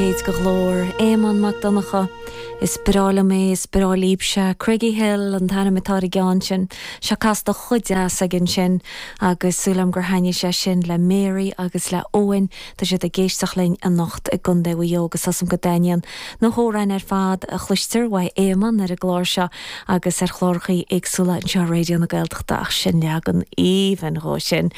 leithéid de ghlór. Éamonn Mac Donncha. Is breá liom é, is breá líbse. Craigyhill an t-ainm atá ar an gceann sin. Seo casta chomh deas aige ansin agus súil agam gur thaitnigh sé sin le Mary agus le Eoin. Tá siad ag éisteacht linn anocht i gContae Mhaigh Eo agus tá 's a'm go dtaitníonn na hamhráin ar fad a chloistear uaidh Éamonn ar an gclár seo agus ar chlárachaí éagsúla anseo ar Raidió na Gaeltachta ach sin leagan aoibhinn dhó sin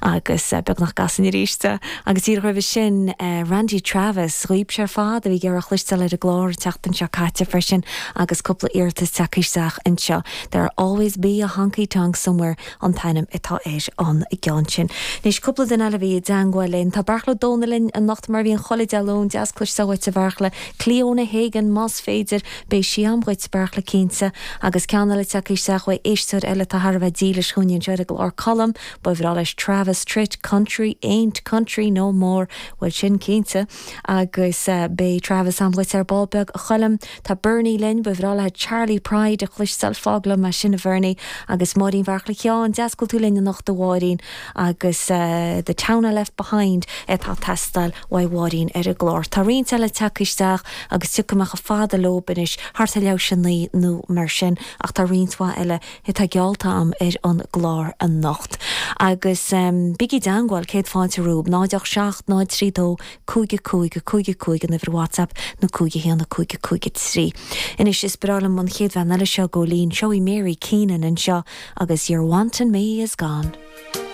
agus beagnach go gcasfainn arís é. Agus díreach roimhe sin Randy Travis, dhaoibhse ar fad a bhí ag iarraidh a chloisteáil ar an gclár an tseachtain seo caite freisin agus cúpla iarratas tagtha isteach anseo. There'll always be a honky tonk somewhere an t-ainm atá ar an gceann sin. Anois cúpla duine eile a bhí i dteangmháil linn. Tá Beartla Ó Domhnaill linn anocht mar a bhíonn chuile Dé Luain. Deas cloisteáil uait a Bheartla. Cliona Hagan más féidir. Beidh sí a'm dhuit, Beartla, cinnte. Agus ceann eile tagtha isteach uaidh éisteoir eile atá thar a bheith dílis dhúinn anseo ar an gclár, Colm. Ba bhreá leis Travis Tritt, Country ain't country no more. Bhuel sin cinnte. Agus beidh Travis a'm dhuit ar ball beag, a Choilm. Tá Bernie linn, ba bhreá léi Charley Pride a chloisteáil. Fág liom é sin, a Bhernie. Agus Máirín Bheartla Sheáin, deas go bhfuil tú linn anocht a Mháirín. Agus The Town I Left Behind atá ag teastáil uaidh Mháirín ar an gclár. Tá roinnt eile tagtha isteach agus tiocfaidh mé chomh fada leob anois, thart ar leathuair théis a 9 nó mar sin, ach tá roinnt mhaith eile atá geallta a'm ar an gclár anocht. Agus bígí i dteangmháil, céad fáilte romhaibh, 0 8 7 0 3 2 5 5 5 5 an uimhir WhatsApp nó 5 1 5 5 3. Anois is breá liom an chéad bhean eile seo, Góilín. Seo í Mary Keenan anseo agus Your Wantin' Me Is Gone.